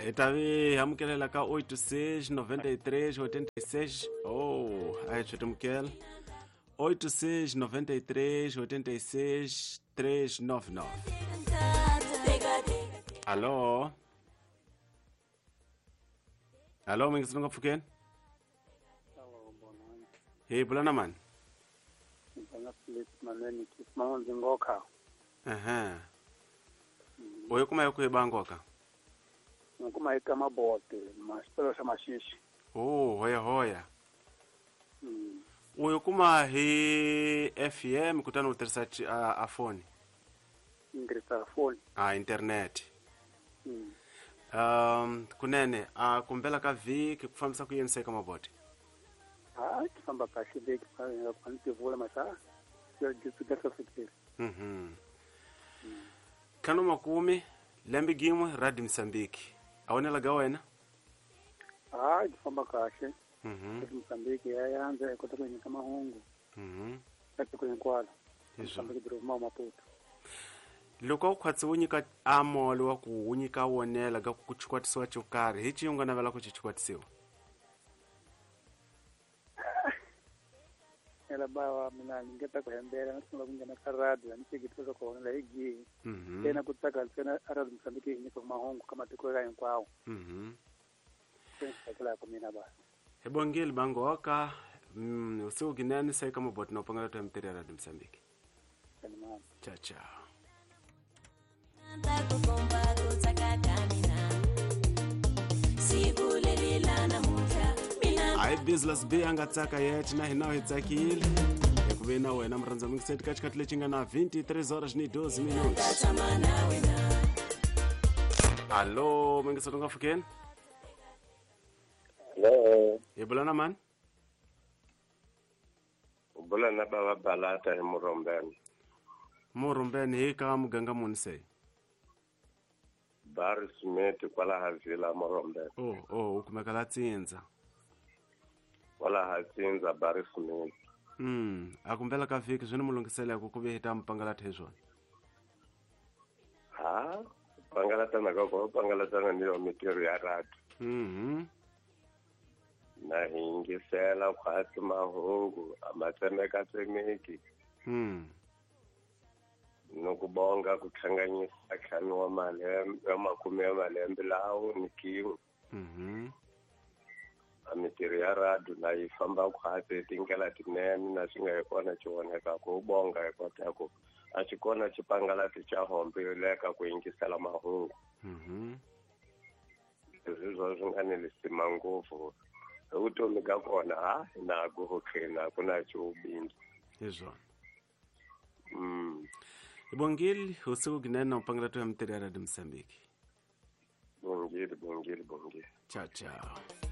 Hi ta vi amukelela ka 86 93 86. Oh, a hi tswetimukela 86 93 86 399. Allo, allo, mi nga pfukeni. Hi bula na mani? Ehe, u yi kuma hi kwihi bangoka? Ni kuma eka Mabote, xipelo xa Maxixi. Oh, hoya hoya. U yi kuma hi FM kutani u tirhisa a foni? Ni tirhisa foni. A internet. Kunene a kumbela ka vhiki ku fambisa ku yini se ka Mabote? Ha, ti famba kahle vhiki, a ni tivula masa hlohleteli. 50 lembe gin'we Radio Mozambique a wonela ga wena? Ha, ti famba kahle. Mozambique ya yandza, hi kota ku nyika mahungu ka tiko hinkwalo. Mozambique doroba Maputo. Loko u khwatsi wu nyika amolo wa ku wu nyika wonela ga ku chikwatisiwa xo karhi, hi cihi u nga navela ku xi chikwatisiwa? Ela bava mina ni ngeta ku hembela, na sungula ku nghena ka radio, ni hleketisa leswaku honela hi gihi. Ntsena ku tsaka ntsena a Radio Mozambique yi nyika mahungu ka matiko ya hinkwawo. Se ni tsakelaka mina ba. Hi bongile bangoka. Usiku kinene se ka Mabote na upangela tu mtiri ya Radio Mozambique. Ciao ciao. Hayi business b a nga tsaka yet na hina hi tsakile hi ku ve na wena murhandza mingiseti ka xikhathi lexi nga na 23 horas ni 12 minutos. Allo, mingiseti u nga pfukeni? Hello. Hi bula na mani? U bula na bava Balata hi Murombeni. Murombeni hi ka muganga muni se? Barry Smith kwalaha Villa Murombeni. Oh, u kumeka la Tsindza. Kwalaha Tsindza Barry Smith. A kumbela ka vhiki swi ni mu lunghisela ku ku ve hi ta mi pangalata hi swona. Ha, pangalatana ka ko pangalatana ni yo mitirho ya radio. Na hi yingisela khwatsi mahungu a ma tsemekatsemeki. No ku bonga ku hlanganyisa ntlhanu wa malembe, wa makume ya malembe lawo ni kin'we. A mitirho ya radio na yi famba khwatsi hi tindlela tinene na swi nga hi kona xi voneka ku bonga hi kota ku a xi kona xipangalati xa hombe yo leka ku yingisela mahungu. Leswi swo swi nga ni lisima ngopfu hi vutomi ka kona, ha na ku khina ku na xubindzu. Hi swona. Hi bongile usiku kinene upangela tu ya mitirho ya Radio Mozambique. Bongile, bongile, bongile. Ciao ciao.